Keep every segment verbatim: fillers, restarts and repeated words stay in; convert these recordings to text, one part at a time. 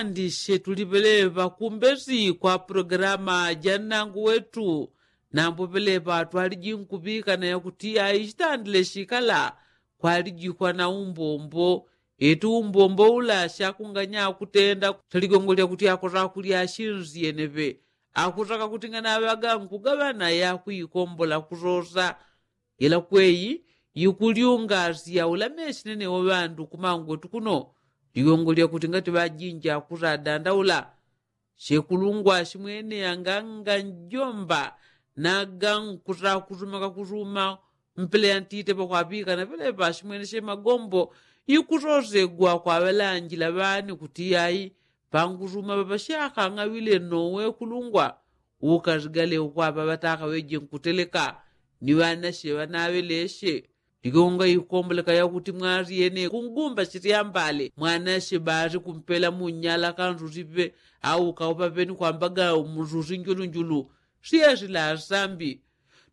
Ndishe tulipelepa kumbesi kwa pologalama ja nnangu wetu. Nambo pelepa twaliji nkuŵikana yakuti aishitandile shikala kwalijikwa na umbombo. Eti umbombo ula shakunganya akutenda shaligongo lyakuti akosa kulya ashinzi yeneŵe. Akutaka kuti nganaŵaga nkugaŵana yakwikombola kusosa. Ila kweyi yikulyungasya ulameshi nene waŵandu kumangwetu kuno. Ligongo lyakuti ngati ŵajinja kusadandaula. Shekulungwa shimwene anganga njomba naga nkusakusuma kakusuma. Mpele yantite pakwaŵikana pelepa shimwene shemagombo. Yikusosegwa kwaŵalanjila ŵane kuti ayi pankusuma ŵapashakang'aŵile nowe kulungwa. Ukasigale ukwaŵa ŵataka ŵeje nkuteleka. Ni ŵanashe ŵanaŵeleshe. Ligonga ikomboleka yakuti mwali yene kungumba shityambale mwanashe bali kumpela munyala kansusipe. Au kaupa peni kwambaga mususi njulunjulu. Siyesila asambi.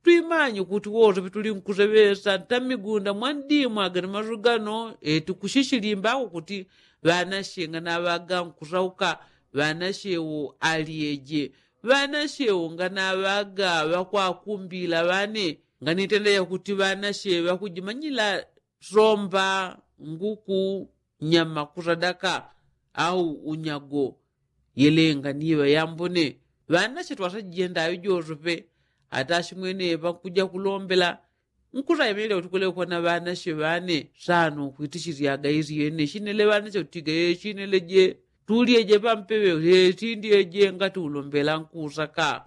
Twimanye kuti wose pitulinkuseŵesa ntamigunda mwandimwaga ni masugano. Eti kushishilimbako kuti ŵanashe nganaŵaga nkusauka. Ŵanashe wo alyeje. Ŵanashe wo nganaŵaga ŵakwakumbila ŵane. Nganitenda yakuti ŵanashe ŵakujimanyila somba nguku nyama kusadaka au unyago. Yelenga niŵa yambone ŵanashe twasajenda aŵi josope. Ata ashimwene ŵakuja kulombela nkusayemelya kuti kulekwa na ŵanashe ŵane. Sano kwitishilyaga isyene shinele ŵanashe kutiga yeshinele je. Tulyeje pampeŵe yeshindyeje ngati ulombela nkusaka.